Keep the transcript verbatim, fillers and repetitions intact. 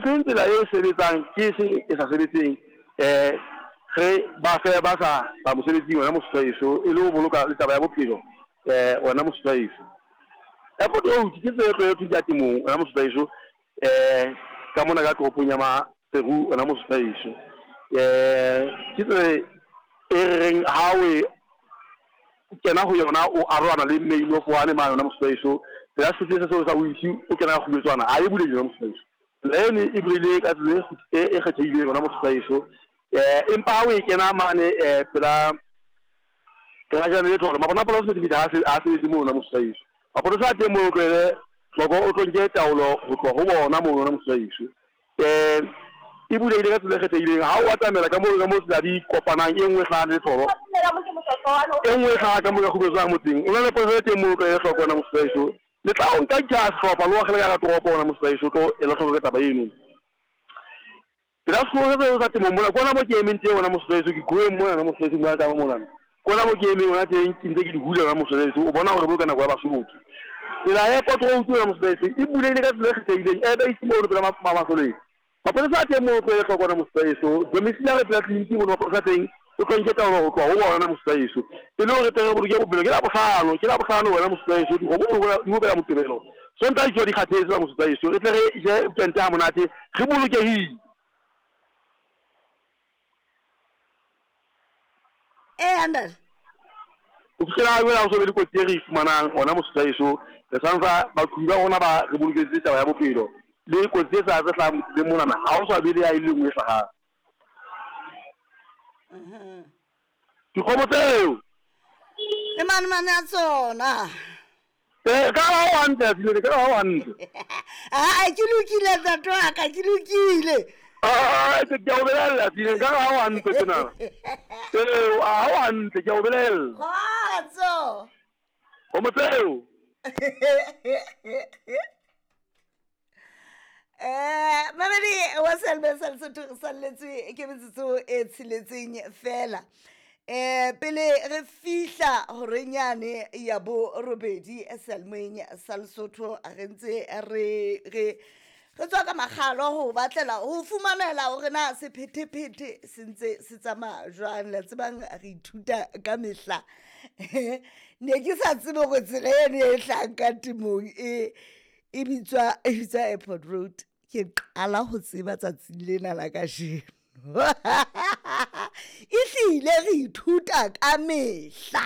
Ke efeng tsela e sebetsang, ke efeng e sa sebetseng, um re ba fe ba sa ba mosebetsing wena Mosotho wa heso, e le ho boloka le taba ya bophelo um wena Mosotho wa heso. Airport Road ke tsela e tlwaetsweng ya temong wena Mosotho wa heso, um ka mona ka toropong ya Maseru wena Mosotho wa heso. Um ke tsela e re reng ha o e kena ho yona o arohana le main of one mane wena Mosotho wa heso. Tsela ya sepetlele seo sa o ise o kena ka Kgubetswana ha e bulehile wena Mosotho wa heso. Tsela eno e bulehile ka tsela e e kgethehileng wena Mosotho wa heso. Um empa ha o e kena mane um pela garage le tholo mapona a sephethephethe ha a sebetse moo wena Mosotho wa heso. Mapolesa a teng moo o tlohele hloko o tlo nke taolo ho tloha ho bona moo wena Mosotho wa heso. Um e bulehile ka tsela e kgethehileng ha o atamela ka moo ka moo tsela di kopanang, e nngwe e hlaha le tholo, e nngwe e hlaha ka moo ka Kgubetswana motseng. O na le polesa e teng moo o tlohele hloko wena Mosotho wa heso. Le tla o nka ka sehlopha le o akgele ka hara toropo wena Mosotho wa heso, o tlo ela hloko ka taba eno. Pela sekolo se sa temong mona, ke ona mo ke emeng teng wena Mosotho wa heso, ke kueng mona wena Mosotho wa heso, bua taba mona. Ke ona mo ke emeng hona teng, ke ntse ke di hula wena Mosotho wa heso, o bona hore boloka nako ya Basotho. Tsela ya Airport Road wena Mosotho wa heso e bulehile ka tsela e kgethehileng, e ba ise mono pela Masoleng. Mapolesa a teng moo o tlohele hloko wena Mosotho wa heso. Domiciliary pela tleliniki mono mapolesa a teng o tlo nke taolo ho tloha ho bona wena Mosotho wa heso. E le hore tle re boloke bophelo, ke Labohlano, ke Labohlano wena Mosotho wa heso, dikgomo di bopela Moqebelo. Sontaha di tsoha di kgathetse wena Mosotho wa heso, re tle re je weekend ha monate, re bolokehile. Ee, ntate. Ho fihlela ha jwale ha ho so be le kotsi e re e fumanang hona Mosotho wa heso. Re santsa baqhobi ba rona ba re boloketse taba ya bophelo le kotsi e sa tse hlahang tseleng monana, ha ho sa be le ya e le nngwe e hlahang. Dikgomo tseo Le manemane a tsona. Eh, ka ha o hantle, Asilele, ka ha o hantle. Aa, ke lokile ntate wa ka, ke lokile. Ah, ke a o belella, Asilele, ka ha o hantle tjena. Eh, ha o hantle, ke a o belella. Kgotso. Kgomo tseo. Eh, mamedi wa Selma sa Lesotho, re salletswe ke metsotso e tsheletseng fela. Eh, pele re fihla horeng yane ya borobedi Selmoeng sa Lesotho, re ntse re re re tswa ka makgalo ho batlela ho fumanela hore na sephethephethe se ntse se tsamaya jwang. La tsebang re ithuta ka mehla. Ne ke sa tsebe hore tsela eno e hlahang ka temong e e bitswa e bitswa Airport Road. Ke qala ho tseba tsatsing lena la kajeno. Ehlile re ithuta ka mehla.